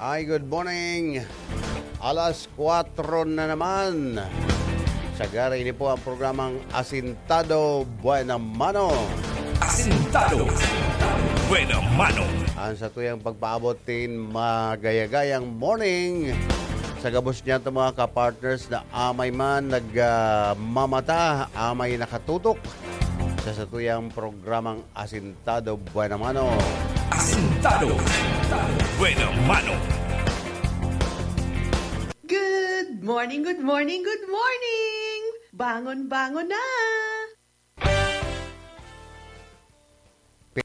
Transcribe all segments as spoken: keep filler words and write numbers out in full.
Ay, good morning. Alas kwatro na naman. Sagara, ini po ang programang Asintado Buena Mano. Asintado Buena Mano. Ang satuyang pagpaabot nin magayagayang morning. Sa gabos niya, mga kapartners na amay man nagmamata, amay nakatutok sa satuyang programang Asintado Buena Mano. Asintado Buena Mano. Good morning, good morning, good morning! Bangon, bangon na! Pi-,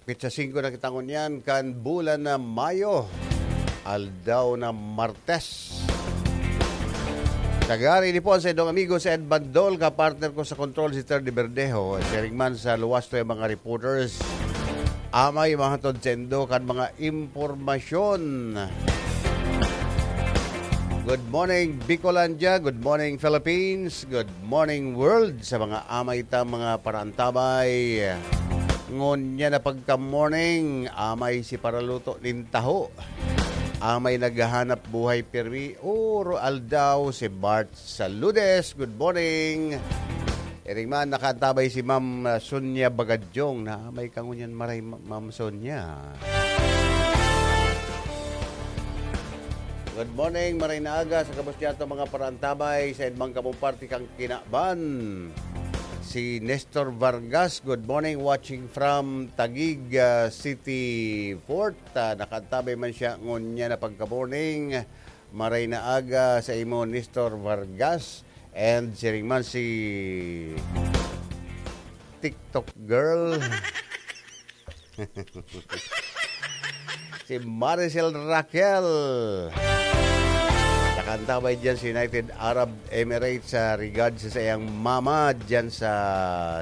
pitsa singko na kita ngunyan kan bulan na Mayo, aldaw na Martes. Tagari ni po sa indong amigo sa Ed Bandol, kapartner ko sa control si Ter de Verdejo. Siring man sa luwas to yung mga reporters. Amay, mga hatod sendo kan mga impormasyon. Good morning, Bicolandia. Good morning, Philippines. Good morning, world. Sa mga amay ta, mga paraantabay. Ngunyan na pagka-morning, amay si paraluto nin taho. Amay naghahanap buhay pirmi, oro aldaw, si Bart Saludes. Good morning. Iring man, nakaantabay si Ma'am, ah, Sonia Bagadyong na may kangunyan maray, Ma-, Ma'am Sonia. Good morning, maray na aga sa gabos niyato mga paraantabay sa edmang kamong parte kan kinaban. Si Nestor Vargas, good morning, watching from Taguig, ah, City Fort. Ah, nakaantabay man siya ngunyan na pagka-morning. Maray na aga sa imo, Nestor Vargas. And siring man si TikTok girl. Si Maricel Raquel. Nakaantabay dyan sa United Arab Emirates sa regard sa sayang mama dyan sa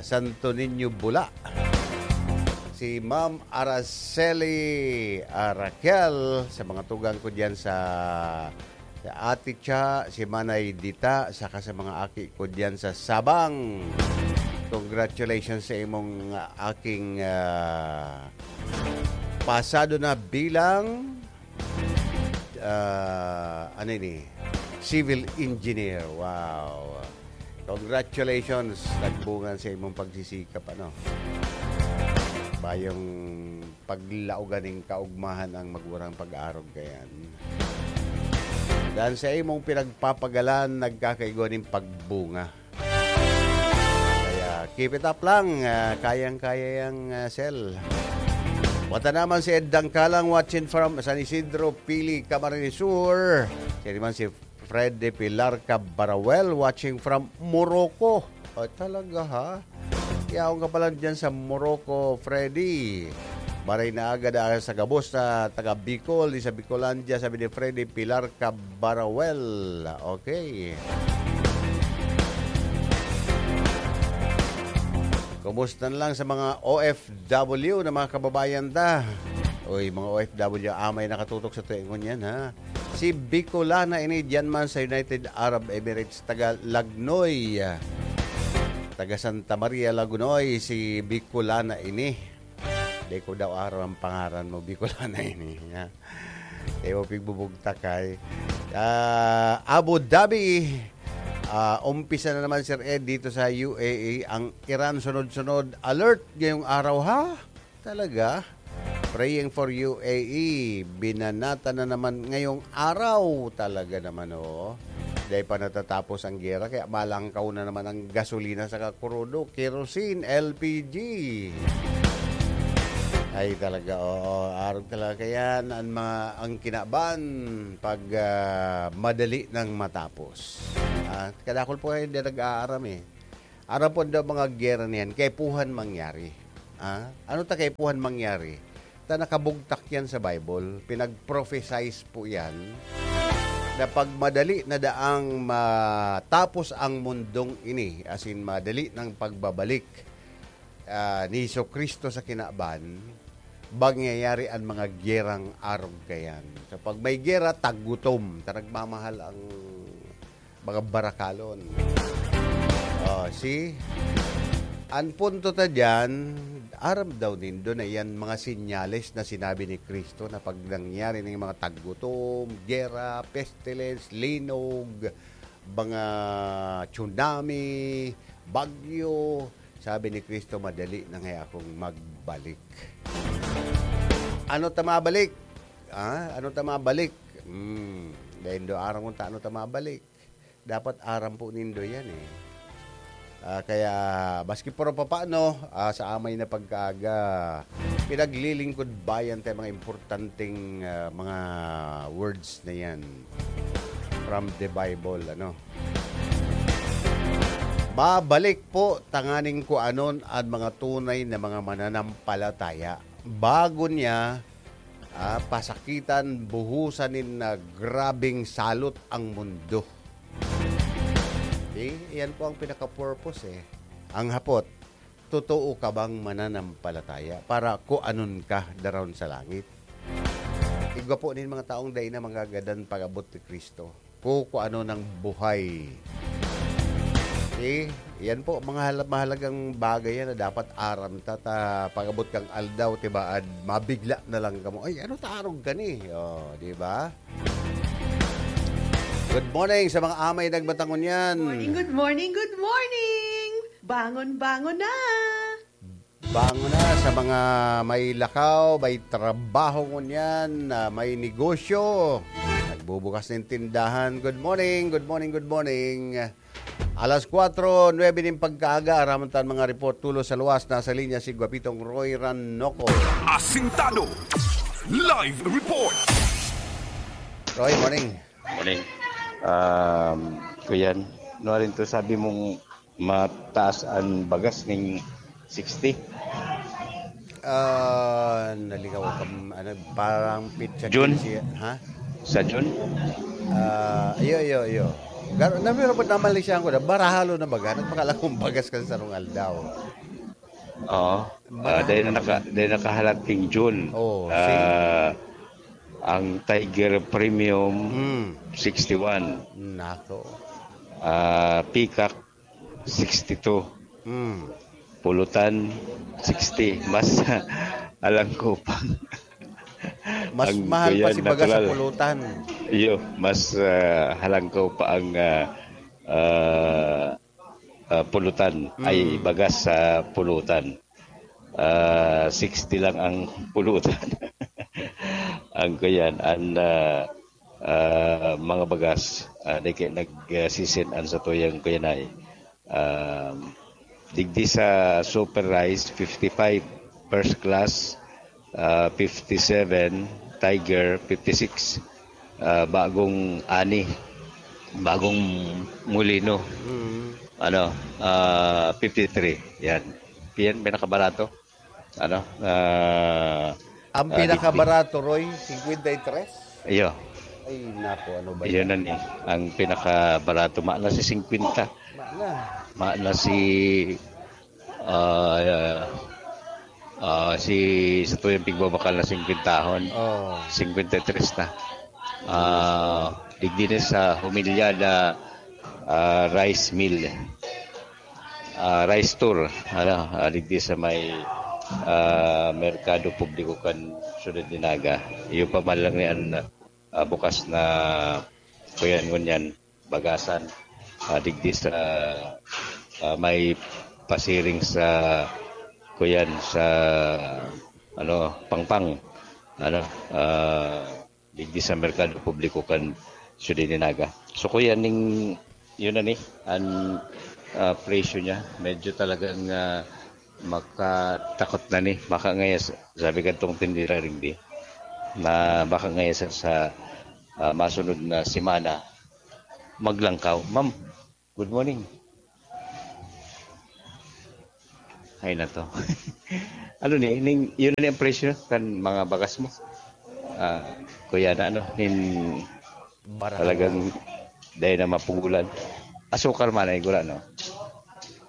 Santo Niño, Bula. Si Ma'am Araceli, ah, Raquel, sa mga tugang ko dyan sa, sa Ate Cha, si Manay Dita, saka sa mga aki ko dyan sa Sabang. Congratulations sa imong, ah, aking, ah, pasado na bilang, ah, ano ini? Civil engineer. Wow. Congratulations. Nagbunga sa imong pagsisikap, ano? Bayong paglaogan ning kaugmahan ang magurang pag-arog kayan. Dan sa imong pinagpapagalan, nagkakaigwa ning pagbunga. Kaya, keep it up lang. Ah, kayang-kaya yang, ah, Sel. Wata naman si Ed Dangkalang, watching from San Isidro, Pili, Camarines Sur. Siya naman si Fred de Pilar Cabarawel, watching from Morocco. O, talaga, ha? Yaon ka pala dyan sa Morocco, Freddy. Maray na aga da sa gabos na taga Bicol, di sa Bicolandia, sabi ni Freddy Pilar Cabarawel. Okay. Kumusta na lang sa mga O F W na mga kababayan ta? Uy, mga O F W, amay nakatutok sa tuwing ngunyan, ha? Si Bicolana ini, diyan man sa United Arab Emirates, taga Lagnoy. Taga Santa Maria, Lagnoy, si Bicolana ini. Di ko daw aram ang pangaran mo, Bicolana ini, ha? Di mo pigbubugtak, ay. Ah, Abu Dhabi, ah, umpisa na naman, Sir Ed, dito sa U A E. Ang Iran, sunod-sunod, alert ngayong araw, ha? Talaga? Praying for U A E. Binanata na naman ngayong araw. Talaga naman, oh. Dahil pa natatapos ang gera, kaya malangkaw na naman ang gasolina sa krudo, kerosene, L P G. Ay, talaga, oo. Arog talaga yan. Ang mga, ang kinaban, pag, ah, madali nang matapos. Ah, kadakol po kayo hindi nag-aaram, eh. Aram po daw mga gera niyan, kaipuhan mangyari. Ah, ano ta kaipuhan mangyari? Ta nakabugtak yan sa Bible, pinag-prophesize po yan, na pag madali na daang matapos ang mundong ini, as in, madali ng pagbabalik, ah, ni Jesu-Cristo sa kinaban, mangyayari ang mga gerang arog kayan. So, pag may gera, tagutom, ta nagmamahal ang mga barakalon. Oh, see? An punto ta diyan, aram daw nindo na iyan mga senyales na sinabi ni Cristo na pag nangyari na yung mga taggutom, gera, pestilence, linog, mga tsunami, bagyo, sabi ni Cristo, "Madali na ngaya akong magbalik." Ano ta mabalik? Ah, ano ta mabalik? Hmm, dahil do aram kung ta ano ta mabalik. Dapat aram po nindo yan, eh. Ah, kaya, maski pero papaano, ah, sa amay na pagkaaga, pinaglilingkod bayan tayo mga importanteng, ah, mga words na yan from the Bible, ano. Babalik po tanganing kuanon an mga tunay na mga mananampalataya bago niya, ah, pasakitan, buhusan nin, ah, grabeng salot ang mundo. Eh, yan po ang pinaka-purpose, eh. Ang hapot, totoo ka bang mananampalataya para kuanon ka daron sa langit? Igwa po nin mga taong dai na magagadan pag-abot ni Cristo. Kukuanon ng buhay. Eh, yan po, mga hala-, mahalagang bagay yan na dapat aram ta, ta pag-abot kang aldaw, tibaad, mabigla na lang kamo. "Ay, ano ta arog ka ni?" Oh, di ba? Good morning sa mga amay nagmatangon yan. Morning, good morning, good morning! Bangon, bangon na! Bangon na sa mga may lakaw, may trabaho ngunyan, ah, may negosyo. Nagbubukas ng tindahan. Good morning, good morning, good morning. Alas kwatro nuebe nin pagkaaga, aram ta an mga report tulos sa luwas. Nasa linya si Guapitong Roy Ranoco. Asintado. Live report. Roy, morning. Morning. Um, Kuyan, ano rin to, sabi mong mataas ang bagas ng sixty? Ah, naligaw ka, ano, parang pizza June? Siya, ha? Sa June? Ah, iyo, iyo, iyo. Gar na meron po naman siya ko na barahalo na baga, nagpakalakong bagas kan sarong aldaw. Oo. Uh, dahil, naka, dahil nakahalat king June. Oh, uh, ang Tiger Premium, mm. sixty-one. Nako. Uh, Peacock, sixty-two. Mm. Pulutan, sixty. Mas halangko pa. Mas ang mahal pa si baga sa pulutan. Iyo, mas uh, halangko pa ang uh, uh, uh, pulutan. Mm. Ay, bagas sa pulutan. Uh, sixty lang ang pulutan. Ang Kuyan, ang uh, uh, mga bagas, uh, nag-, nagsisin an satuyang Kuyanay. Uh, digdi sa Super Rice, fifty-five, first class, uh, fifty-seven, Tiger, fifty-six, uh, bagong ani, bagong mulino, Mm. ano, uh, fifty-three. Yan. Yan, pinakabarato. Ano? Uh, Ang ah, pinakabarato, Roy, singkwenta y tres? Iyo. Ay, nako, ano ba Iyon yan? na ni. Ang pinakabarato, maana si singkwenta. Mana. Maana si, ah, ah, si sa tuyang pigbabakal na singkwentahon. Oh. Singkwenta y tres na. Ah, digdi ni sa humilya na, ah, rice mill. Ah, rice store, ano, ah, digdi sa may, ah, merkado publiko kan Syudad de Naga. Iyo pa man lang ni an, ah, bukas na kuyan ngunyan, bagasan. Ah, digdi sa, ah, may pasiring sa kuyan sa, ano, Pangpang. Ano, ah, digdi sa merkado publiko kan Syudad de Naga. So, kuya, ning, yun na ni, ang, ah, presyo niya, medyo talagang, ah, makatakot na ni, makangayas, sabi kadtong tindera rigdi, na makangayas sa, ah, masunod na semana, maglangkaw. Ma'am, good morning. Ay na to. Ano ni, ning, yun na ni ang presyo kan mga bagas mo? Ah, kuya na ano, nin, Barato. Talagang dahil na mapugulan. Asukar man ay gura, no?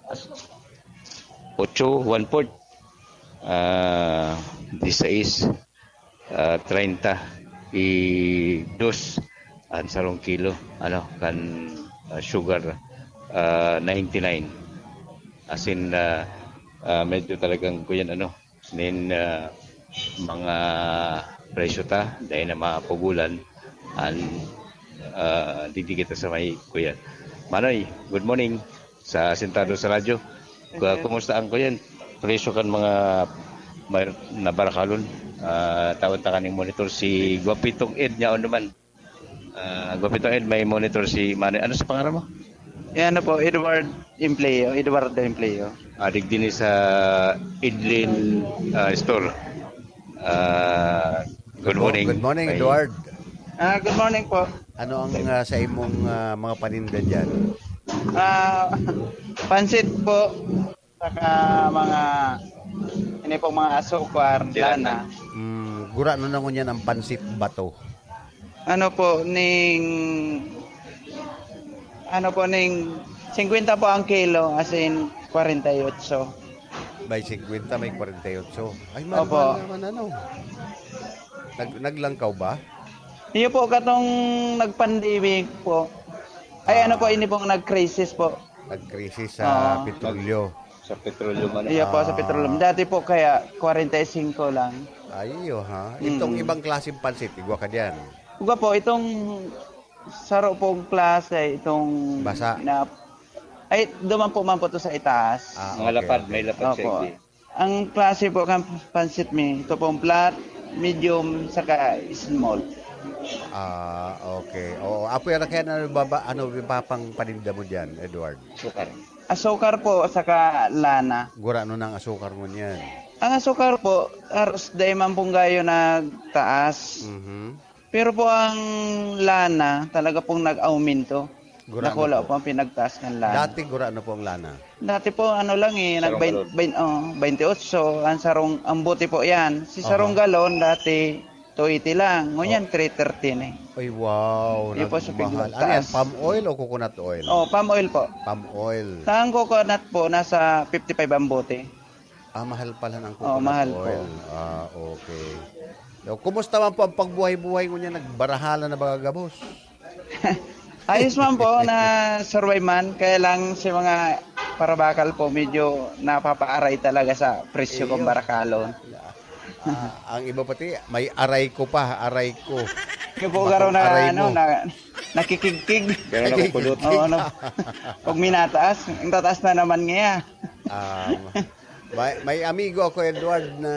As-, otso, one-fourth. Ah, disais, ah, treinta, i dos, ang sarong kilo, ano, kan, ah, sugar, ah, ninety-nine. As in, ah, Ah, medyo talagang kuyan ano, nin, ah, mga presyo ta, dahil na mapugulan, an, ah, digdi kita sa may kuyan. Manoy, good morning sa Sentado sa Radyo. Ku-, kumusta ang kuyan? Presyo kan mga may, nabarakalon. Ah, tawag ta kaning monitor si Guapitong Ed niya, ano man. Ah, Guapitong Ed, may monitor si Manoy. Ano sa pangalan mo? Eh, ano po, Edward Empleo, Eduardo Empleo. Adig din sa Idlin, ah, Store. Ah, good Good mo-, morning. Good morning, May Edward. Ah, good morning po. Ano ang, ah, sa imong, ah, mga paninda diyan? Ah, pansit po, saka mga, ini pong mga asukar, Sila lana. Mm, gurano na ngunyan ang pansit bato. Ano po, ning, ano po, ning singkwenta po ang kilo, as in, kwarenta y otso. May singkwenta, may kwarenta y otso. Ay, mahal, Opo. mahal naman, ano. Nag-, naglangkaw ba? Iyo po, katong nag-pandemic po. Ay, Ah. ano po, ini pong nag-crisis po. Nag-crisis sa Ah. petrolyo. Sa petrolyo man. Iyo po, sa Ah. petrolyo. Dati po kaya, kwarenta y singko lang. Ay, iyo, ha? Itong Mm. ibang klaseng pansit, igwa ka diyan. Igwa po, itong saro pong klase, itong Basa. na, ay, duman po man po to sa itaas. Ah, Mga okay, lapad, okay. may lapad sa Opo. igdi. Ang klase po kan pansit mi, ito pong flat, medium, saka small. Ah, okay. Oo, apoy na kaya na baba, ano, yung papang paninda mo dyan, Edward? Sukar. Asukar po, saka lana. Gurano ng asukar mo niyan? Ang asukar po, haros dai man pong gayo nagtaas. Mhm. Pero po ang lana, talaga pong nag-aumento. Gurano Dakula po? po ang pinagtaas ng lana. Dati gurano po ang lana? Dati po, ano lang eh, Sarong nag-, galon. bain-, oh, bainti otso, ang sarong, ang bote po yan. Si sarong Aha. galon, dati, two eighty lang. Ngunyan, Oh. three thirty na eh. Ay, wow, Di po siya nagmahal. Ano yan, pinagtaas. Palm oil o coconut oil? Oh, palm oil po. Palm oil. Ang coconut po, nasa fifty-five ang bote. Ah, mahal pala ng Oo, coconut mahal po. oil. Ah, okay. So, kumusta man po ang pagbuhay-buhay ngunyan? Nagbarahalan na ba gabos? Ayos man po, na-survive man. Kaya lang si mga parabakal po, medyo napapaaray talaga sa presyo Iyo. kung barakalon. Ah, ang iba pati, may aray ko pa, aray ko. Yung po Bako garo na, aray ano, mo. na, nakikigkig. Pero nakukudot. Oo, ano. Pag minataas, ang tataas na naman ngayon. Um, may, may amigo ako, Edward, na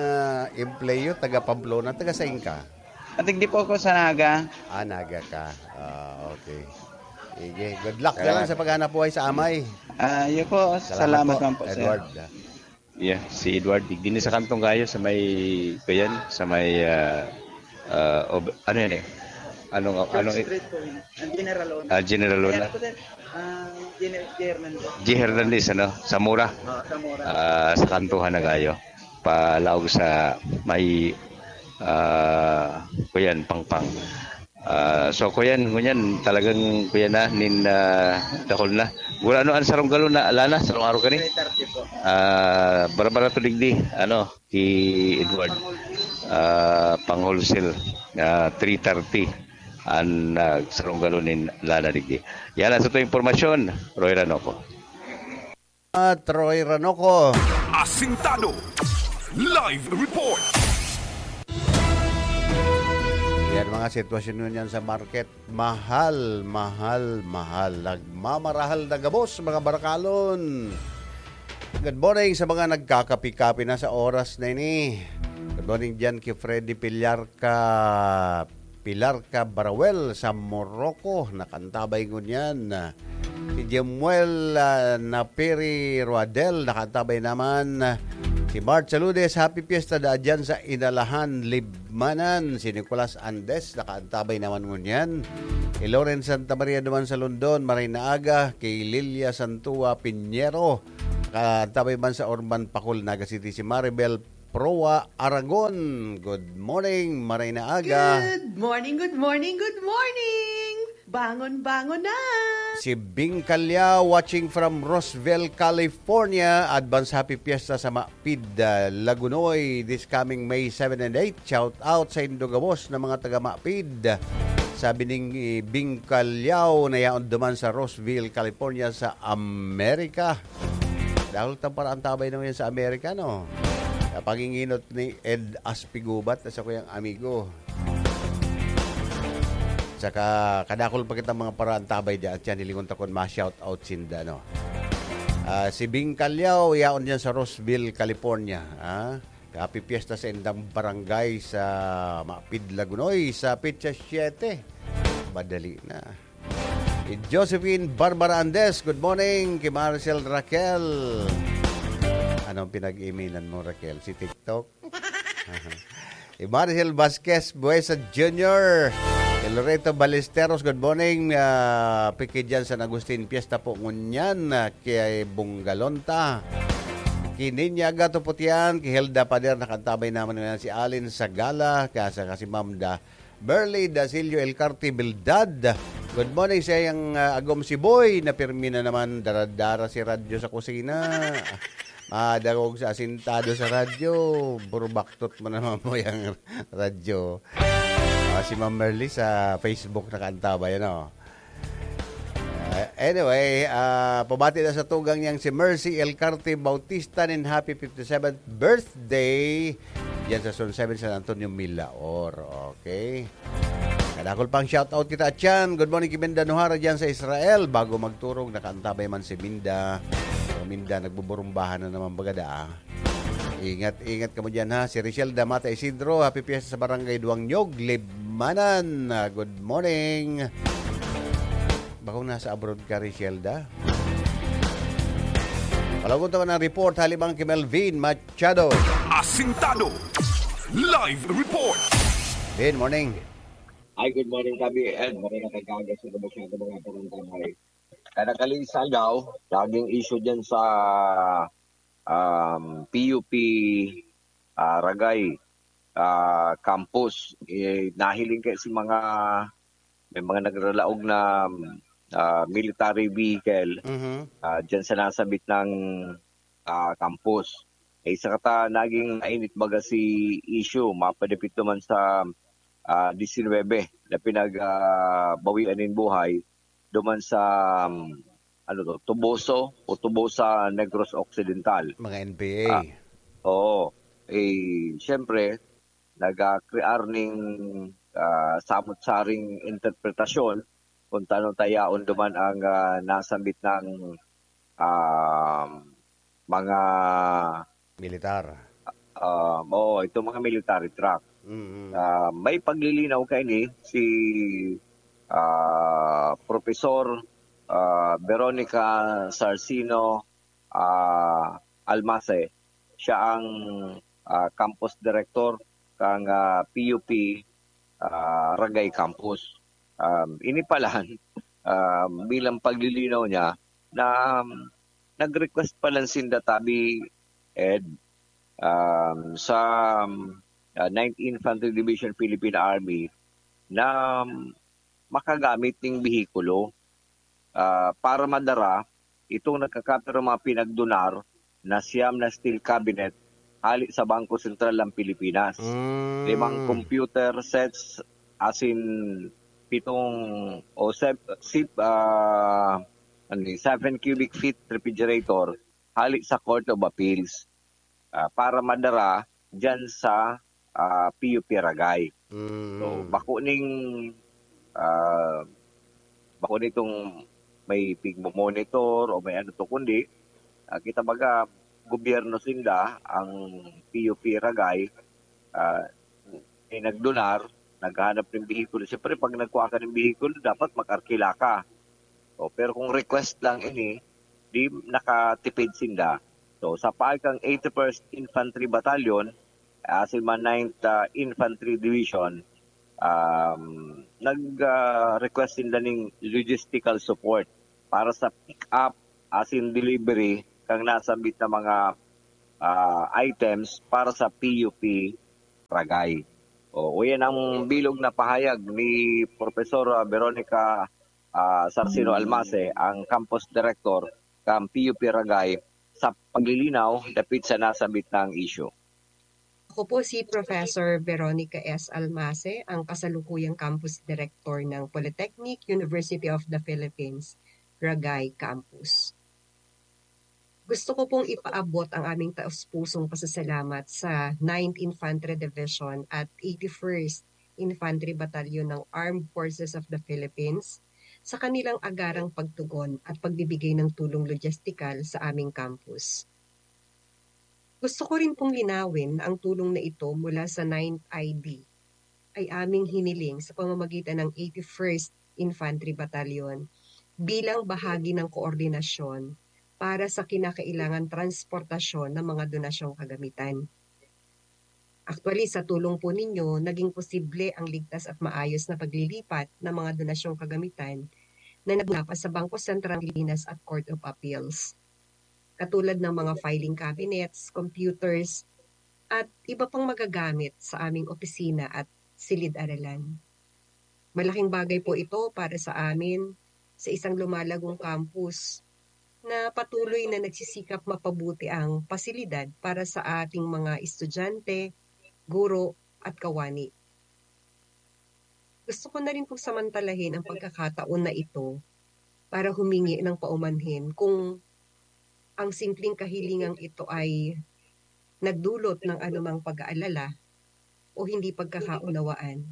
empleyo, taga Pamplona. Taga sain ka? Ating di po ako sa Naga. Ah, Naga ka. Ah, okay. Sige. Good luck na lang Salamat. sa paghanap buhay sa amay. Ah, yun po. Salamat Salamat po, man po, sir. Edward. Yeah, si Edward, digdi ni sa kantong gayo, sa may, kuyan, sa may, ah, ah, ob-, ano yan eh? Anong, Church anong, Street po yun. Ang General Luna. Ah, General Luna. Kaya po, sir, ah, General Hernandez. G Hernandez, ano? Sa Mura. Ah, sa Mura. Ah, sa kantuhan na gayo. Palaog sa may, ah, kuyan, Pangpang. Ah, so, kuyan, ngunyan, talagang, kuyan na, nin, ah, dakul na. Gurano an sarong galon na lana, sarong araw kani? Three thirty po. Ah, barabara to digdi, ano, ki Edward. Ah, pang-wholesale, ah, three thirty an, ah, sarong galon nin lana digdi. Yan ang sa tuwing impormasyon, Roy Ranoco. At Roy Ranoco. Asintado. Live report. Yan mga sitwasyon ngunyan sa market. Mahal, mahal, mahal. Nagmamarahal na gabos, mga barakalon. Good morning sa mga nagkakapi-kapi na sa oras na ini. Good morning dyan kay Freddy Pillarca, Pilarca Barawel sa Morocco. Nakantabay ngunyan. Si Jemuel, ah, Napiri Roadel, nakantabay naman. Si Bart Saludes, happy fiesta da dyan sa Inalahan, Libmanan. Si Nicolas Andes, nakantabay naman ngunyan. Kay Lawrence Santa Maria naman sa London, maray na aga. Kay Lilia Santua Piñero, nakantabay man sa Orban Pakul, Naga City. Si Maribel Proa Aragon. Good morning, maray na aga. Good morning, good morning, good morning! Bangon, bangon na! Si Bing Calao watching from Roseville, California. Advance happy fiesta sa Mapid, ah, Lagunoy this coming May seven and eight. Shout out sa indo gabos na mga taga Mapid. Sabi ning, eh, Bing Calao na yaon duman sa Roseville, California sa Amerika. Dahil tang paraantabay naman yan sa Amerika, no? Sa panginginot ni Ed Aspigubat na sa kuyang amigo. Saka, kadakol pa kitang mga paraantabay dyan. At yan, hilingon ta kun ma-shout out sinda, no? Ah, si Bing Calyaw, yaon dyan sa Roseville, California. Ah, happy fiesta sa indang barangay sa Mapid, Lagunoy, sa petsa siyete. Madali na. Si Josephine Barbara Andes, good morning. Kay Maricel Raquel. Anong pinag-iminan mo, Raquel? Si TikTok? Si Maricel Vasquez Buesa Junior. Kay Loreto Ballesteros, good morning. Ah, piki dyan San Agustin, fiesta po ngunyan. Ah, kay Bungalonta. Kay Ninya Gato Putian, kay Hilda Pader, nakaantabay naman ngunyan si Alin Sagala, kasa kasi Ma'am Da Merly Dasilio Elcarte Bildad. Good morning sa iyang, ah, agom si Boy, na pirmi na naman, dara-dara si radyo sa kusina. Madagog sa asintado sa radyo, burubaktot mo naman mo yung radyo. Ah, si Ma'am Merly sa Facebook nakaantabay, ano? Ah, anyway, ah, pabati na sa tugang niyang si Mercy Elcarte Bautista nin happy fifty-seventh birthday. Diyan sa Zone seven San Antonio, Milaor. Okay. Kadakol pang shoutout kita, Chan. Good morning, Kiminda Nuhara, dyan sa Israel. Bago magturog, nakaantabay man si Minda. O Minda, nagbuburumbahan na naman bagada, ah. Ingat, ingat kamo dyan, ha. Si Richelle Damata Isidro, happy fiesta sa Barangay Duang Nyog, Libmanan. Ah, good morning. Bakong nasa abroad ka, Richelle, da? Palagon tayo ng report, halibang kay Melvin Machado. Asintado. Live report. Good morning. Hi, good morning, Kabi Ed. Maray na kagaga sa mga mga panantamay. Kada kalisagaw, laging issue dyan sa, um, P U P, ah, Ragay, ah, campus. Eh, nahiling kayo si mga, may mga nagralaog na, ah, military vehicle, Mhm. ah, dyan sa nasabit ng, ah, campus. Eh, isa kata naging mainit baga si issue, mapadapit naman sa, ah, disinwebe na pinag, ah, bawian nin buhay duman sa, um, ano to, Toboso o Tobosa, Negros Occidental. Mga N P A. Ah, oo. Eh, siyempre, nagkakrear ning, ah, samot-saring interpretasyon kung tano tayaon duman ang, ah, nasambit ng, ah, mga Militar. Ah, oo, itong mga military truck. Mm. Ah, may paglilinaw kaini si, ah, Professor, ah, Veronica Sarcino, ah, Almase. Siya ang, ah, campus director kang, ah, P U P, ah, Ragay Campus. Um, ini palan, um, bilang paglilinaw niya na, um, nag-request palan sinda tabi, Ed, um, sa, um, ah, Ninth Infantry Division Philippine Army na, um, makagamit ning behikulo, ah, para madara itong nagkakapirang mga pinagdonar na siyam na steel cabinet hali sa Bangko Sentral ng Pilipinas. Mm. Limang computer sets, asin pitong o sep-, sip-, ah, ano yun, seven cubic feet refrigerator hali sa Court of Appeals, ah, para madara dyan sa, ah, P U P Ragay. Mm. So, bako ning, ah, bako nitong may pigmo-monitor o may ano to, kundi, ah, kita baga, gobyerno sinda, ang P U P Ragay, ah, may nagdonar, naghahanap ng behikulo. Siyempre, pag nagkuha ka ng behikulo, dapat mag-arkila ka. O, pero kung request lang ini, di nakatipid sinda. So, sa paagi kang eighty-first Infantry Battalion, asin man ninth, ah, Infantry Division, um, nag, ah, request sinda ning logistical support para sa pick-up asin delivery kang nasambit na mga, ah, items para sa P U P Ragay. O, yan ang bilog na pahayag ni Professor, ah, Veronica, ah, Sarcino Almase, ang campus director kan P U P Ragay, sa paglilinaw dapit sa nasambit na issue. Ako po si Professor Veronica S. Almase, ang kasalukuyang campus director ng Polytechnic University of the Philippines, Ragay Campus. Gusto ko pong ipaabot ang aming taos-pusong pasasalamat sa Ninth Infantry Division at eighty-first Infantry Battalion ng Armed Forces of the Philippines sa kanilang agarang pagtugon at pagbibigay ng tulong logistikal sa aming campus. Gusto ko rin pong linawin na ang tulong na ito mula sa Ninth I D ay aming hiniling sa pamamagitan ng eighty-first Infantry Battalion bilang bahagi ng koordinasyon para sa kinakailangan transportasyon ng mga donasyong kagamitan. Actually, sa tulong po ninyo, naging posible ang ligtas at maayos na paglilipat ng mga donasyong kagamitan na nagmula pa sa Bangko Sentral ng Pilipinas at Court of Appeals, katulad ng mga filing cabinets, computers, at iba pang magagamit sa aming opisina at silid-aralan. Malaking bagay po ito para sa amin sa isang lumalagong campus na patuloy na nagsisikap mapabuti ang pasilidad para sa ating mga estudyante, guro, at kawani. Gusto ko na rin pong samantalahin ang pagkakataon na ito para humingi ng paumanhin kung ang simpleng kahilingang ito ay nagdulot ng anumang pag-aalala o hindi pagkakaunawaan.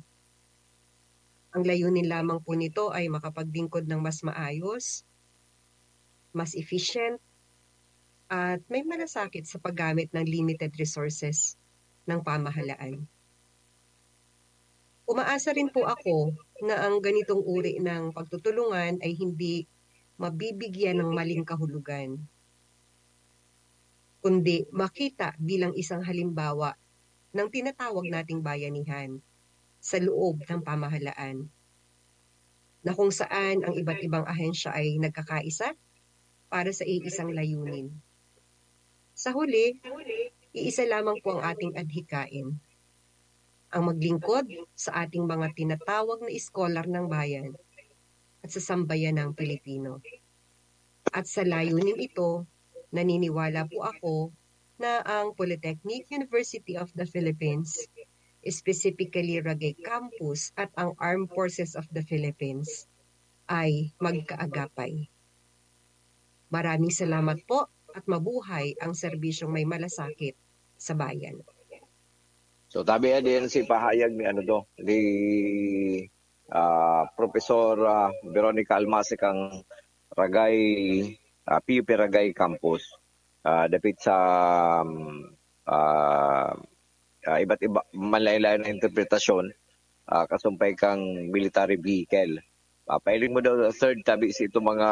Ang layunin lamang po nito ay makapaglingkod ng mas maayos, mas efficient, at may malasakit sa paggamit ng limited resources ng pamahalaan. Umaasa rin po ako na ang ganitong uri ng pagtutulungan ay hindi mabibigyan ng maling kahulugan, kundi makita bilang isang halimbawa ng tinatawag nating bayanihan sa loob ng pamahalaan, na kung saan ang iba't ibang ahensya ay nagkakaisa para sa iisang layunin. Sa huli, iisa lamang po ang ating adhikain, ang maglingkod sa ating mga tinatawag na iskolar ng bayan at sa sambayan ng Pilipino. At sa layunin ito, naniniwala po ako na ang Polytechnic University of the Philippines, specifically Ragay Campus at ang Armed Forces of the Philippines, ay magkaagapay. Maraming salamat po at mabuhay ang serbisyong may malasakit sa bayan. So, tabi yan din si pahayag ni ano to, ni ah, Professor ah, Veronica Almasic ang Ragay, ah, P U P Ragay Campus. Ah, dapit sa um, ah, ah, iba't iba, malayo-layo na interpretasyon, ah, kasumpay kang military vehicle. Ah, pailing mo daw, third, tabi si itong mga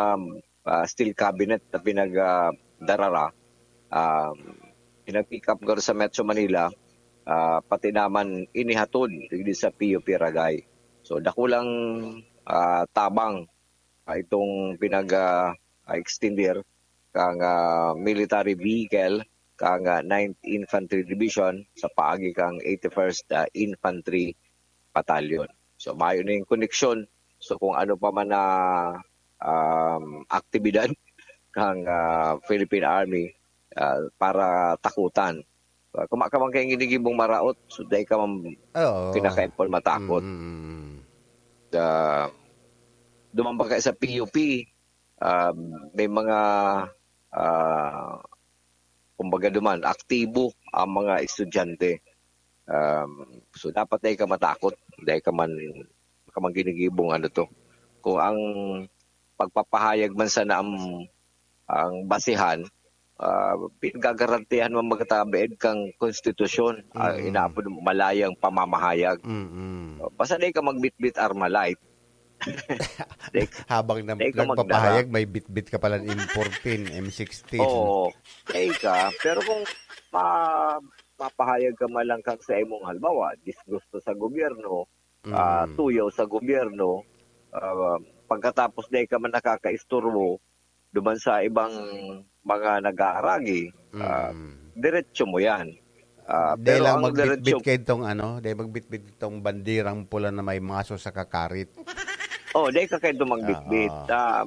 ah, steel cabinet na pinagdarara. Ah, pinag-pick up garo sa Metro Manila, ah, pati naman inihatod digdi sa P U P Ragay. So, dakulang ah, tabang ah, itong pinag ah, ah, extender kang ah, military vehicle kang ah, Ninth Infantry Division sa paagi kang eighty-first ah, Infantry Battalion. So, mayo na yung koneksyon. So, kung ano pa man na um, aktibidad kang ah, Philippine Army ah, para takutan. So, kung ka man kayong ginigibong maraot, so dahil ka man Oo. pinakain po matakot. Mm. Ah, duman pa kayo sa P U P, ah, may mga ah, kumbaga duman, aktibo ang mga estudyante. Um, so dapat dahil ka matakot, dahil ka man, ka man ginigibong ano to. Kung ang pagpapahayag man sana ang, ang basihan, ah, pinagagarantihan mo magtabiid kang konstitusyon, ah, Mm. inaapod malayang pamamahayag. Mm-mm. Basta di ka magbitbit Armalite. Habang na, Di ka nagpapahayag, may bitbit ka pala M fourteen, M sixteen. Oo. Di ka. Pero kung ma, mapahayag ka man lang kang sa imong, halimbawa, disgusto sa gobyerno, ah, Mm. tuyaw sa gobyerno, ah, pagkatapos di ka man nakakaisturbo duman sa ibang mga nag-aaragi, ah, Mm. diretso mo yan. Ah, Dahil pero lang ang magbitbit diretso, kayo itong ano, dahil magbitbit itong bandirang pula na may maso sa kakarit. Oh, dahil ka kayo magbitbit. Oo. Ah,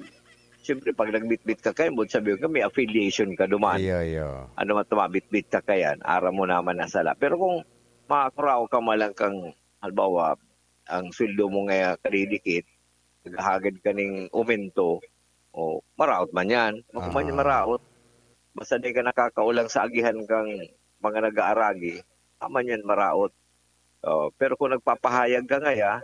siyempre, pag nagbitbit ka kayo, mo sabi ko, may affiliation ka duman. Iyo, iyo. Ano man tumabitbit ka kayan, aram mo naman na sala. Pero kung makakuraw ka man lang kang, halimbawa, ang sweldo mo nga kadidikit, naghahagad ka ning umento, o maraot man yan. Kung man yan Ah. maraot, Basta di ka nakakaulang sa agihan kang mga nag-aaragi, tama niyan maraot. Oh, pero kung nagpapahayag ka ngaya,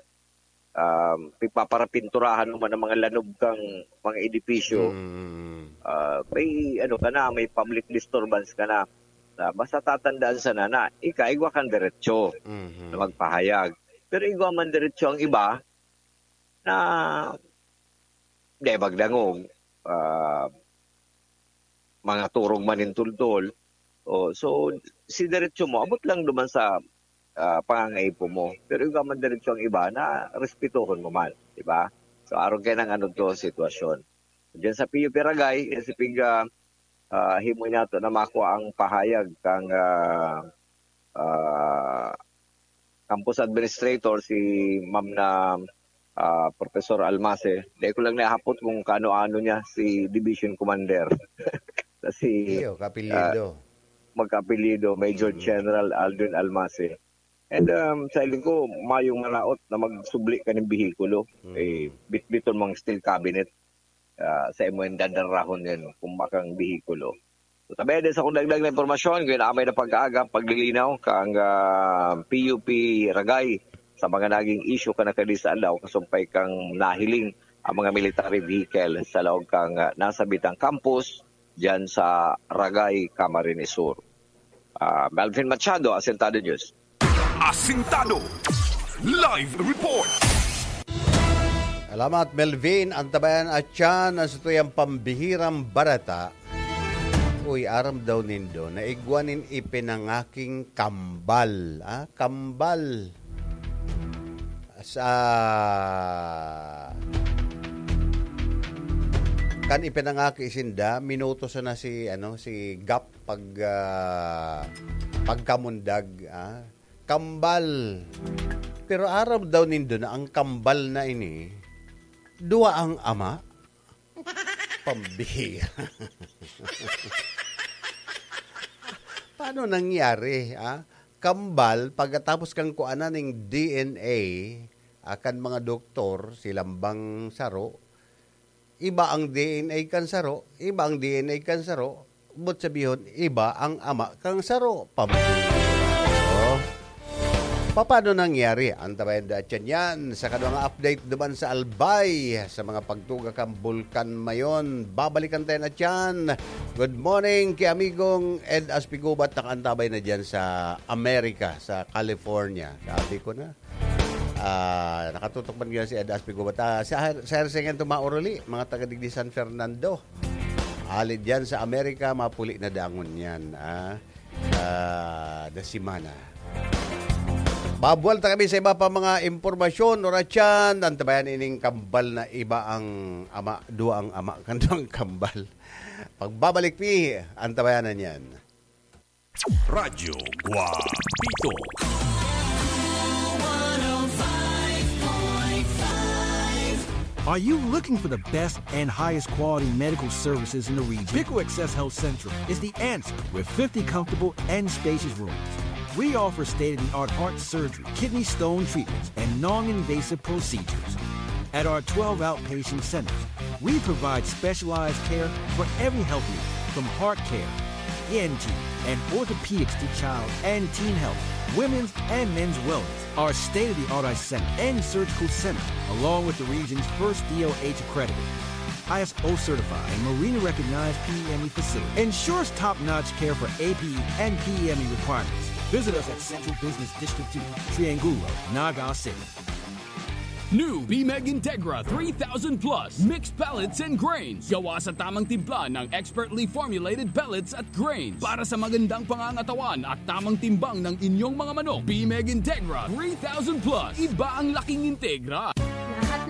um, pigpaparapinturahan mo man ang mga lanob kang mga edipisyo, Mm. ah, may ano ka na, may public disturbance ka na. Ah, basta tatandaan sana na ika igwa kang diretso Mhm. na magpahayag. Pero igwa man diretso ang iba na di magdangog, ah, mga turog man nin tultol. Oh, so, si diretso mo, abot lang duman sa, ah, pangangaipo mo. Pero igwa man diretso ang iba na respetuhon mo man, di ba? So, arog kaiyan ang ano to, sitwasyon. Diyan sa P U P Ragay, eh, si Pig, ah, ah, himo niya to na makua ang pahayag kang, ah, ah, campus administrator, si Ma'am na, ah, Professor Almase. Dai ko lang nahapot kung kaano-ano niya si division commander. Na si, Iyo, kapilido. ah, magkapilido, Major Mm. General Aldrin Almase. And, um, sa hiling ko, mayong maraot na magsubli ka nin behikulo. Mm. Eh, bitbiton mo ang steel cabinet. Ah, sa imo yung dadarahon yun, kung makang behikulo. So, tabi din sa kung dagdag na impormasyon, kung amay na pag-aaga, paglilinaw, kang, ah, P U P Ragay, sa mga naging issue ka na kadi sa aldaw, kasumpay kang nahiling ang mga military vehicle sa laog kang, ah, nasabitang campus, dyan sa Ragay, Camarines Sur. Ah, Melvin Machado, Asentado News. Asintado. Live report. Salamat, Melvin. Antabayan at siya na sa tuyang pambihirang barata. Uy, aram daw nindo, naigwa nin ipinangaking kambal. Ah, kambal. Sa kan ipinangaki sinda, minuto sana si, ano, si Gap pag, ah, pagkamundag, ah. Kambal. Pero aram daw nindo na ang kambal na ini, duwa ang ama? Pambihira. Paano nangyari, ah? Kambal, pagkatapos kang kuanan ning D N A, ah, kan mga doktor, silang bang saro, iba ang D N A kan saro, iba ang D N A kan saro, but sabihon, iba ang ama kan saro. Pambihira. Oh. Paano nangyari? Antabayan da atyan yan. Sa kadwa nga update duman sa Albay, sa mga pagtuga kan Bulkan Mayon. Babalikan tayo na dyan. Good morning kay amigong Ed Aspigubat, nakaantabay na dyan sa Amerika, sa California. Sabi ko na. Ah, nakatutok man ngayon si Ed Aspigubat. Ah, si Her-, si Hersengen Tumaoroli, mga taga digdi San Fernando. Ali dyan sa Amerika, mapuli na dangon yan, ah, ah, na semana. Babwal ta kami sa iba pa mga impormasyon, oras yan. Antabayan ining kambal na iba ang ama, duwa ang ama, kan duwang kambal. Pagbabalik mi, antabayanan yan. Radyo Guapito. Are you looking for the best and highest quality medical services in the region? Pico Access Health Central is the answer with fifty comfortable and spacious rooms. We offer state-of-the-art heart surgery, kidney stone treatments, and non-invasive procedures. At our twelve outpatient centers, we provide specialized care for every health need, from heart care, E N T, and orthopedics to child and teen health, women's and men's wellness. Our state-of-the-art eye center and surgical center, along with the region's first D O H accredited, I S O certified, and Marina recognized P E M E facility, ensures top-notch care for A P E and P E M E requirements. Visit us at Central Business District two, Triangulo, Naga City. New Bimeg Integra three thousand plus, mixed pellets and grains. Gawa sa tamang timpla ng expertly formulated pellets at grains. Para sa magandang pangangatawan at tamang timbang ng inyong mga manok, Bimeg Integra three thousand plus. Iba ang laking Integra.